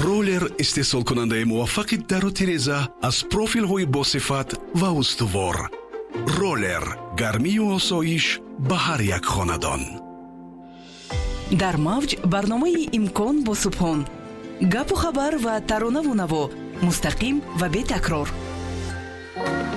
Роллер, истеҳсолкунандаи муваффақи дару тиреза аз профилҳои босифат ва устувор. Роллер, гармию осоиш ба ҳар як хонадон. Дар мавҷ барномаи «Имкон» бо Субҳон. Гапу хабар ва таронаву наво мустақим ва бетакрор.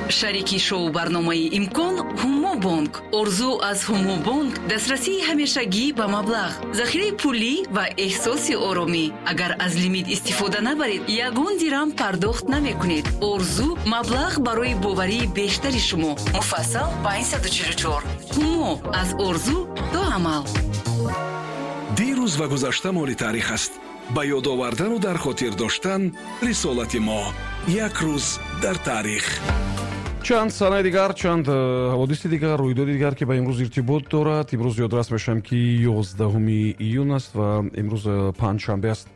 Шарики шоу барномаи «Имкон» «Ҳумо бонк». Орзу аз «Ҳумо бонк» дастрасии ҳамешагӣ ба маблағ, захираи пулӣ ва эҳсоси оромӣ. Агар аз лимит истифода набаред, ягон дирам пардохт намекунед. Орзу, маблағ барои боварии бештари шумо. Муфассал 544. «Ҳумо», аз орзу то амал. Дирӯз ва гузашта моли таърих аст. Ба ёд овардану дар хотир доштан рисолати мо. Як рӯз дар таърих. Чанд санаи дигар, чанд ҳаводиси дигар, рӯйдоди дигар, ки ба имрӯз иртибот дорад. Имрӯз ёдрас мешавам, ки 11 июн аст ва имрӯз панҷшанбе аст.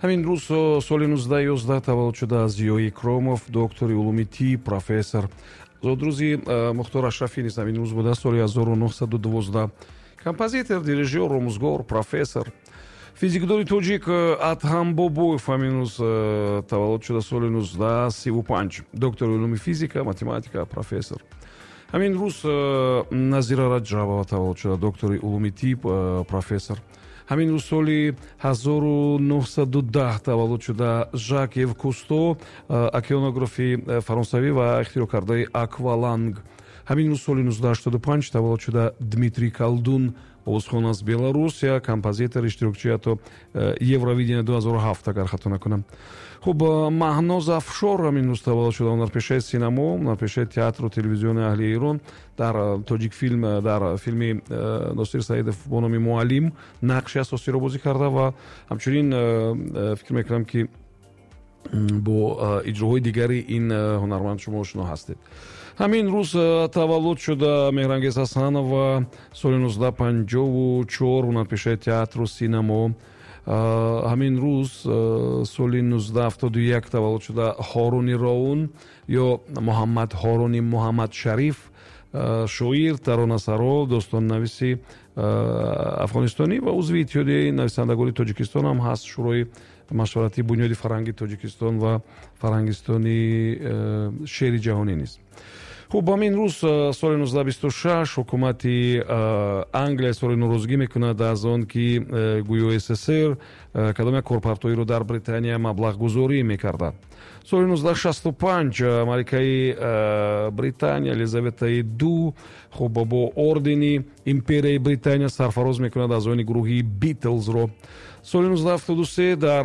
Ҳамин рӯз соли 1911 таваллуд шуда Зиёи Икромов, доктори улуми тиб, профессор. Зодрӯзи Мухтор Ашрафӣ низ ҳамин рӯз буда, соли 1912, композитор, дирижёр, омӯзгор, профессор. Физикдони тоҷик Адҳам Бобоев ҳамин рӯз таваллуд шуда, соли 1935, доктори улуми физика, математика, профессор. Ҳамин рӯз Назира Раҷабова таваллуд шуда, доктори улуми тиб, профессор. Ҳамин рӯз соли 1910 таваллуд шуда Жак Ив Кусто, океанографи фаронсавӣ ва ихтироъкардаи акваланг. Ҳамин рӯз соли 1985 таваллуд шуда Дмитрий Колдун, овозхон аз Беларусия, композитор, иштирокчи ҳатто Евровидения 2007, агар хато накунам. Хуб, Маҳноз Афшор ҳамин рӯз таваллуд шуда, ҳунарпешаи синамо, ҳунарпешаи театру телевизиони аҳли Эрон. Дар Тоҷикфилм дар филми Носир Саидов бо номи «Муаллим» нақши асосиро бозӣ карда ва ҳамчунин фикр мекунам, ки бо иҷроҳои дигари ин ҳунарманд шумо ошно ҳастед. Ҳамин рӯз таваллуд шуда Меҳрангез Ҳасанова, соли 1954, ҳунарпешаи театру синамо. Ҳамин рӯз соли 1971 таваллуд шуда Ҳоруни Роун ё Муҳаммад Ҳоруни Муҳаммадшариф, шоир, таронасаро, достоннависи афғонистонӣ ва узви Иттиҳодияи нависандагони Тоҷикистон ҳам ҳаст, Шӯрои машваратии Бунёди фарҳанги Тоҷикистон ва Фарҳангистони шеъри ҷаҳонӣ низ. Хуб, ҳамин рӯз соли 1926 ҳукумати Англия изҳори норозигӣ мекунад аз он, ки гӯё СССР кадом як корпартоиро дар Британия маблағгузорӣ мекарда. Соли 1965 маликаи Британия Елизаветаи Ду, хуб, бо ордени Империяи Британия сарфароз мекунад аъзоёни гурӯҳи Битлзро. Соли 1973 дар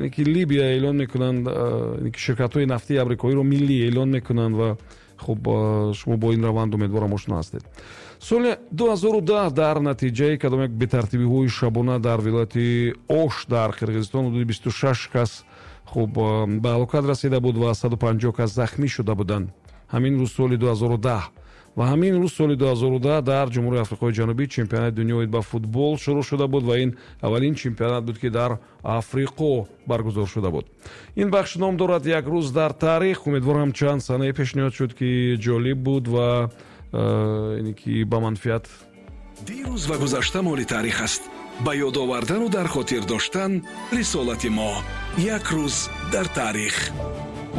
ки Либия эълон мекунанд, ширкатҳои нафтии амрикоиро миллӣ эълон мекунанд ва хуб, шумо бо ин раванд, умедворам, ошно ҳастед. Соли 2010 дар натиҷаи кадом як бетартибиҳои шабона дар вилояти Ош дар Қирғизистон ҳудуди 26 кас, хуб, ба ҳалокат расида буд ва 150 кас захмӣ шуда буданд, ҳамин рӯз соли 2010. Ва ҳамин рӯз соли 2010 дар Ҷумҳурии Африқои Ҷанубӣ чемпионати дунё оид ба футбол шурӯъ шуда буд ва ин аввалин чемпионат буд, ки дар Африқо баргузор шуда буд. Ин бахш ном дорад «Як рӯз дар таърих». Умедворам, чанд санае пешниҳод шуд, ки ҷолиб буд ва ине ки ба манфиат. Дирӯз ва гузашта моли таърих аст. Ба ёд овардану дар хотир доштан рисолати мо. Як рӯз дар таърих.